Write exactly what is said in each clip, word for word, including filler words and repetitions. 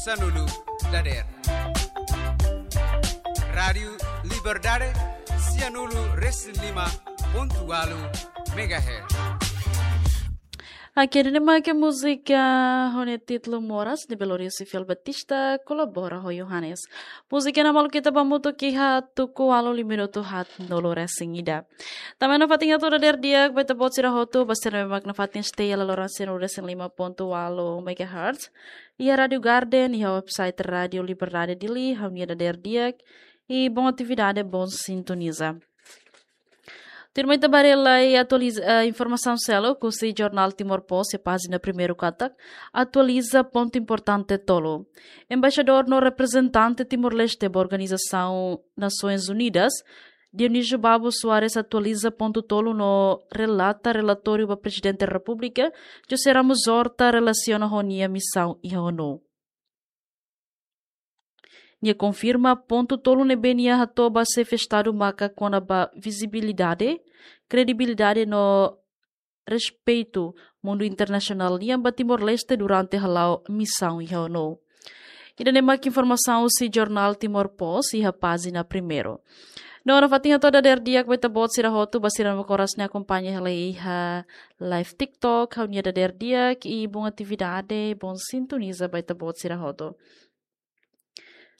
Sanulu dader. Rádiu Liberdade, sianulu resin lima pontu walu megahertz. Oke, ida-ne'e mak múzika ho nia títulu Moras, ne'ebé Lourenço Fiel Batista kolabora ho Yohanes. Múzika ne'e malu ita ba hamutuk iha tuku ualu liu minutu haatnulu resin ida. Tanba ne'e nafatin hato'o dader di'ak ba ita-boot sira hotu, ba sira ne'ebé mak nafatin stay iha laloran sianulu resin lima pontu walu megahertz. Iha Rádiu Garden, iha website Rádiu Liberdade Dili, ha'u-nia dader di'ak, i bom atividade, bom sintoniza. Tuirmai ita ba relai atualiza, eh, informasaun seluk husi jornál Timor Post iha pájina primeiru katak, atualiza pontu importante tolu. Embaixadór no reprezentante Timor-Leste ba Organizasaun Nasoins Unidas, Dionísio Babo Soares atualiza pontu tolu no relata relatóriu ba Prezidente Repúblika, José Ramos Horta relasiona ho nia misaun iha ONU. Nia konfirma pontu tolu ne'ebé nia hato'o ba xefe Estadu maka kona-ba vizibilidade, kredibilidade no respeitu mundu internasionál nian ba Timor-Leste durante hala'o misaun iha ONU. Ida-ne'e mak informasaun husi jornál Timor Post iha pájina primeiru. No nafatin hato'o dader di'ak ba ita-boot sira hotu, ba sira ne'ebé mak oras ne'e akompaña hela iha live TikTok, ha'u-nia dader di'ak, i bom atividade, bom sintoniza ba ita-boot sira hotu.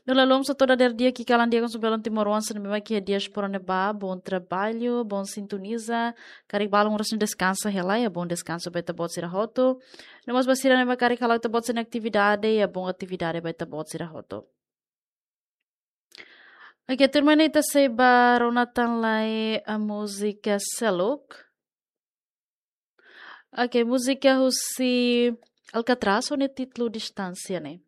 No lalom sa toda der dia ki kalan dia konsu belon timoroan sira ne'ebé mak iha diáspora ne'ebá, bom trabalho, bom sintoniza, karik balun oras ne'e deskansa hela, iha bom deskansu ba ita-boot sira hotu. No mós ba sira ne'ebé mak karik hala'o ita-boot sira-nia atividade, iha bom atividade ba ita-boot sira hotu. Oke, tuirmai ne'e ita sei ba rona tan lai, eh, múzika seluk. Oke, múzika husi Alcatraz ho nia títulu Distánsia ne'e.